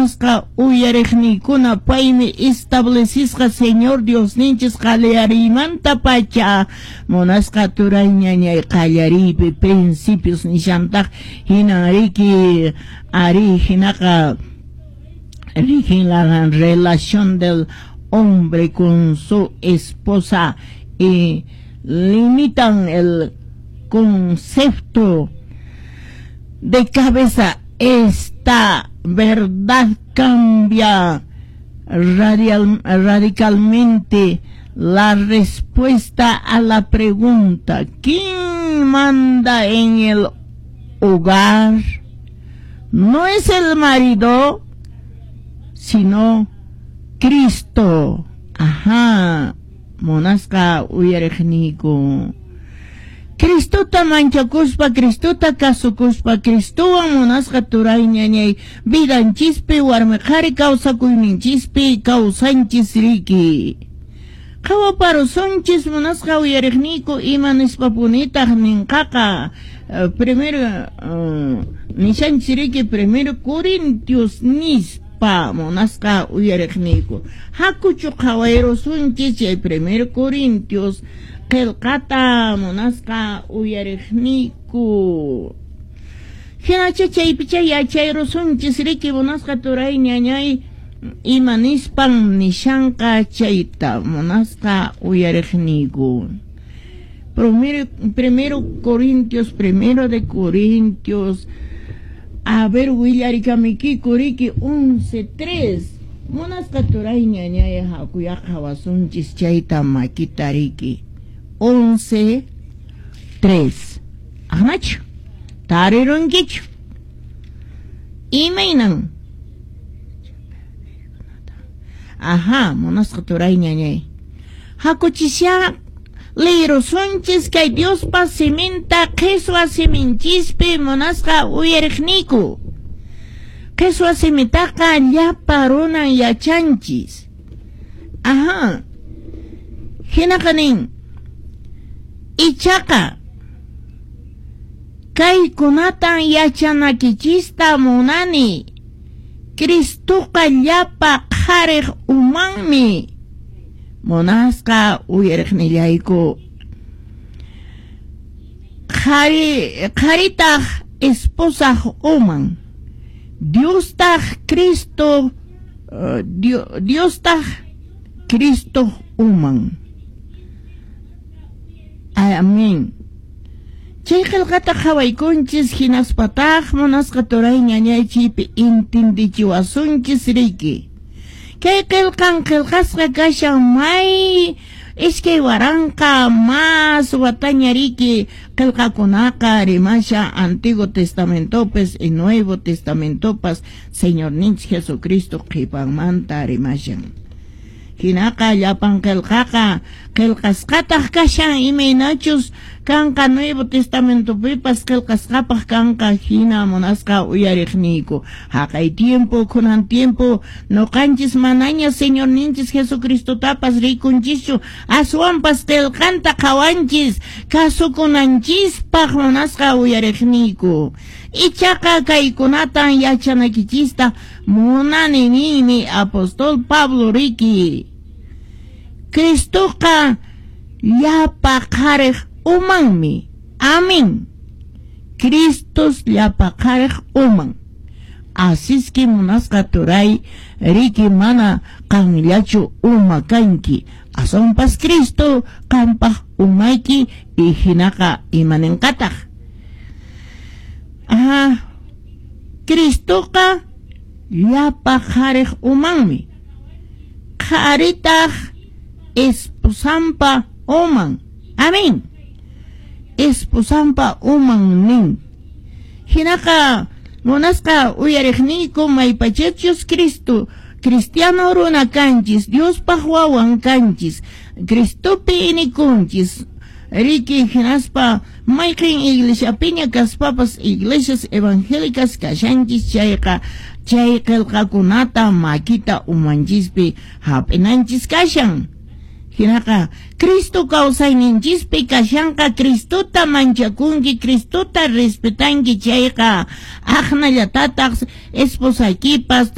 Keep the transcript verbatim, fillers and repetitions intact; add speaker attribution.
Speaker 1: Munasqa uyariqniykuna, paymi establecisqa Señor Diosninchis qallariymantapacha. Munasqa turay ñañay, qallariypi principios nishantaq hinan riki, ari hinaqa rigen la relación del hombre con su esposa y limitan el concepto de cabeza. Esta verdad cambia radial, radicalmente la respuesta a la pregunta: ¿quién manda en el hogar? No es el marido, sino Cristo. Ajá, munasqa uyariqniyku. Cristota manchakuspa, Cristota kasukuspa, Cristowan munasqa turay ñañay, vidanchispi, warmi qhari kawsakuyninchispi kawsanchis riki. Qhawaparusunchis munasqa uyariqniyku, ima nispapunitaq ninqaqa uh, primero uh, nishanchis riki, primero Corintios nispa, munasqa uyariqniyku. Hakuchu qhawayrusunchis chay primero Corintios qillqata, munasqa uyariqniyku. Hinacha chaypicha yachayrusunchis riki, munasqa turay ñañay, ima nispan nishanqa chayta, munasqa uyariqniyku. Primero, primero Corintios, primero de Corintios, a ver, willarikamiykiku riki, once tres. Munasqa turay ñañay, hakuya qhawasunchis chayta makita riki. once tres. Aqnachu? Tarirunkichu? Imaynan? Ajá, munasqa turay ñañay. Hakuchisya lirusunchis kay Diospa siminta qhiswa siminchispi, munasqa uyariqniyku. Qhiswa simitaqa llapa runan yachanchis. Ajá. Hinaqa nin: ichaqa kaykunatan yachanakichista munani. Cristoqa llapa qhariq umanmi. Munasqa uyariqnillayku. Qhari, qharitaq esposaq uman. Diostaq Cristo, uh, Diostaq Cristo uman. Amén. Chay qillqata qhawaykunchis hinaspataq munasqa turay ñañay chaypi intindichiwasunchis riki. Kay qillqan qillqasqa kashan may iskay waranqa más wataña riki. Qillqakunaqa rimasha Antiguo Testamentopas y Nuevo Testamentopas Señorninchik Jesucristo qhipanmanta rimashan. Hinaqa llapan qillqaqa qillqasqataq kashan, imaynachus kanqa Nuevo Testamentopipas qillqasqapaq kanqa hina, munasqa uyariqniyku. Haqay tiempo, kunan tiempo, nuqanchis manaña Señorninchis Jesucristotapas rikunchischu, aswanpas qillqanta qhawanchis kasukunanchispaq, munasqa uyariqniyku. Ichaqa kaykunatan yachanakichista munani ninmi apóstol Pablo riki. Cristoqa llapa qhariq umanmi. Amén. Cristos llapa qhariq uman. Asiski munasqa turay riki, mana qanllachu uma kanki. Aswanpas Cristo qampaq umayki y hinaqa imaninqataq. Ajá. Cristoqa llapa qhariq umanmi. Qharitaq esposampa uman. Amén. Esposampa uman nin. Hinaqa munasqa uyariqniyku, maypachachus Cristo cristiano runa kanchis, Diospaq wawan kanchis, Cristopi inikunchis riki, hinaspa mayqin iglesiapiña kaspapas iglesias evangélicas kashanchis chayqa, chay qillqakunata makita umanchispi hap'inanchis kashan. Hinaqa Cristo kawsayninchispi kashanqa, Cristota manchakunki, Cristota respetanki chayqa, aqnallatataq esposaykipas.